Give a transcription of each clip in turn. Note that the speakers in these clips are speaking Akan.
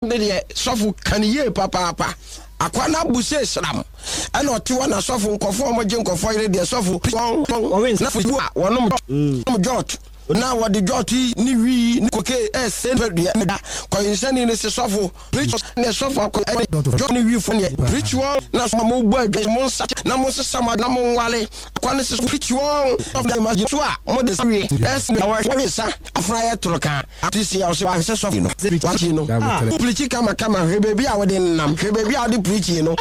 Ne deɛ sɔfo ka no yie papaapa. Akwa no abu sɛ sram ɛna ɔte hɔ na sɔfo nkɔfoɔ a wɔgye nkɔfoɔ yere deɛ sɔfo wɔn na fufuo a wɔnom nom jɔt na wɔde jɔt yi ne wii ne koke ɛsɛ nipadua ne da kɔyensani ne se sɔfo preach ne sɔfo akɔ ɛne jɔt ne wii fo neɛ preach wɔn na sɔfo mo bɔ adwa mo nsa na mo nsesa mo na mo nwale akwa ne se preach wɔn sɔfo de ma so a mo de sa wie ɛsɛ na wɔhwɛ nsa afra yɛ toro ka Ate si a ɔsɛ wahwɛ sɔfo no wakyi no wo pirikyi kama kama hwɛ baabi a wode nenam hwɛ baabi a wode pirikyi no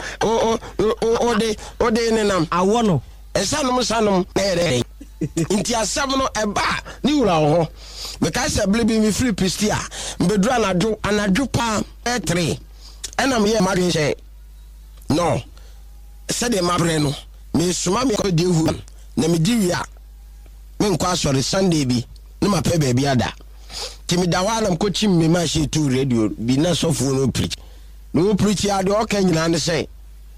wode wode nenam awɔ no nsanom nsanom na yɛ dɛ nti asɛm no ɛba a ne wura wɔ hɔ mekae sɛ bere bi mefiri pisti a mbɛduru anadwo anadwo paa bɛyɛ tere ɛna meyɛ m'adwene sɛ no sɛdeɛ mabrɛ no mesoma me akɔdi ahu na medi wie a menkɔ asɔre Sunday bi na mapɛ baabi ada. Nti meda hɔ a na mekɔkyim me machine too radio bi na sɔfoɔ no preach. Na ɔpreach a deɛ ɔka nyinaa ne sɛ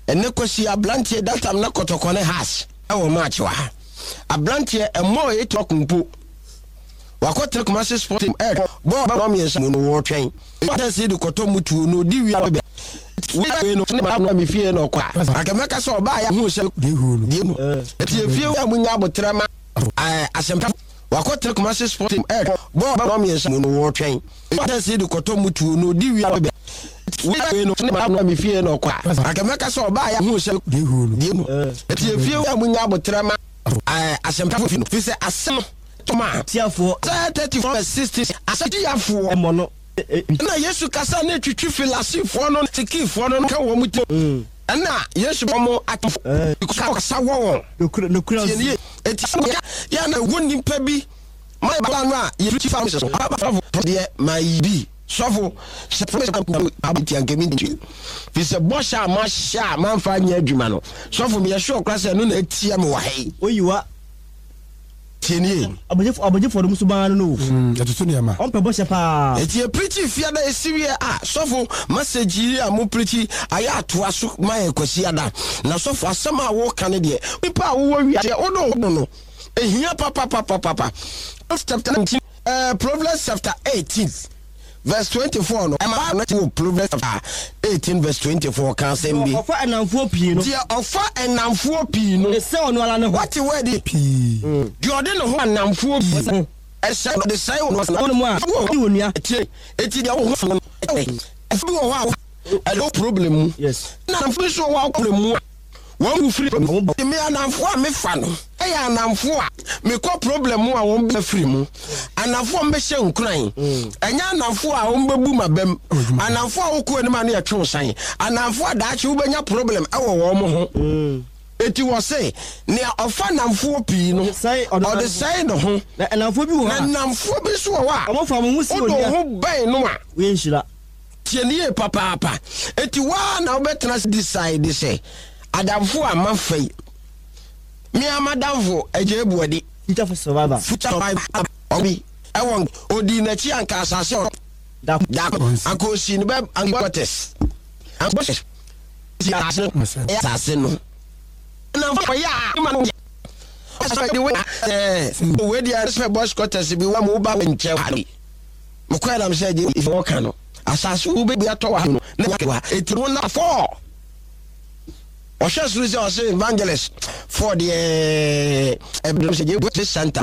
ɛnɛ Kwasi abranteɛ that time na kɔtɔkɔ ne has ɛwɔ match wɔ ha. Abranteɛ ɛmmɔɔ 8 o'clock mpo wakɔtena Kumasi sport team ɛretwɛn bɔɔl bɛbɔ mmiɛnsa mu no wɔretwɛn. Ɛsɛ de kɔtɔ mutuo na ɔdi wie a bɛ wei no ne ma me fie na ɔkɔ a anka mɛka sɛ ɔbaa yɛ hu sɛ deɛ no ɛti efie a munya abotrɛ ma asɛmpa wakɔtena Kumasi sport team ɛretwɛn bɔɔl bɛbɔ mmiɛnsa mu no wɔretwɛn ɛsɛ de kɔtɔ mutuo na ɔdi wie a bɛ wei no ne ma me fie na ɔkɔ a anka mɛka sɛ ɔbaa yɛ hu sɛ deɛ no ɛti efie a munya abotrɛ ma asɛmpa fi no fi sɛ asɛm tɔma Tiafoɔ. Isaiah 34 verse 16 asɛtiafoɔ Mmɔ no. Ɛnna Yesu kasa na etwitwi Farisifoɔ no ne Sadukifoɔ no ka wɔn tirim. Ɛnna Yesu bɔ wɔn atamfo kasa wɔ wɔn. Nokorɛ Tie no yie. Enti sɛ yɛ a na ɛwɔ nnipa bi ma yɛba no a yɛfiri fa so. Sɔfo deɛ ma yi bi. Sɔfo hyɛ promise a nti anka mentumi. Firi sɛ bɔhyɛ a mahyɛ a mamfa anyɛ adwuma no, sɔfo meyɛ sure koraa sɛ ɛno na atia me wɔ ha yi. Oyiwa. Tie nie. Abɔgyefoɔ no suban no no o. Yɛtoto nneɛma. Ɔmpɛ bɔhyɛ paa. Enti yɛ preachi fiada esi wie a sɔfo message yi a mo preachi ayɛ atoa so ma yɛ kwasiada na sɔfo asɛm a wo ka no deɛ nipa a wowɔ wiase wo de wo ho no ehia papapapapapa chapter 19 eh, Proverbs chapter 18 Verse 24 no, ɛma no wɔ Proverbs chapter 18 verse 24 ka asɛm bi. Deɛ ɔfa nnamfoɔ pii no. Deɛ ɔfa nnamfoɔ pii no. Ɔde sɛe ɔno ara ne ho. Wate word yi? Pii. Deɛ ɔde ne ho nnamfoɔ pii no. Ɛsɛe ɔde sɛe ɔno ara ne ho. A ɔdi onua. Tie, eti deɛ wo ho no. Ɛfo bi wɔ hɔ a ɛde wo problem mu. Yes. Ɛna nnamfoɔ bi nso wɔ hɔ a problem mu a. Wɔn wu firi mu. Me anamfo a mefa no yɛ anamfo a mekɔ problem mu a wɔn bɛ firi mu. Anamfo a wɔbɛhyɛ nkuran. Ɛnyɛ anamfo a wɔn bɛbu m'abam. Anamfo a wokɔ anim a ne yɛtwe wo san. Anamfo a daakye wobɛnya problem wɔ wɔn ho. Eti wɔ se nea ɔfa nnamfoɔ pii no, ɔde sɛe ne ho. Na nnamfoɔ bi wɔ hɔ a. Na nnamfoɔ bi nso wɔ hɔ a. Wode wo ho bɛn no a. Woyɛ nhyira. Tie no yie papaapa. Enti wo ara na wobɛtena ase decide sɛ, adamfo a mafa yi, me ara m'adamfo Agyei Boadi. Future survivor. Future survivor. Ɔbi ɛwɔ odii n'akyi anka asase ɔtɔ. Da. Da anka osii no bɛ anka quarters. Anka bɔhyɛ si asase no. Ɛyɛ asase no. Adamfo ɔyɛ a ma no yɛ. Ɔsɛ de wei ɛɛ wei deɛ sɛ boys quarters bi wa mu ba nkyɛn ha bi. Mekɔɛ na mesɛ gye ife wɔka no asase wo bɛbi atɔ wɔ ha no na nya kewa eti wo na fɔɔ ɔhwɛ soro sɛ ɔse evangelist fɔɔ deɛ ɛbɛm sɛ gye santa.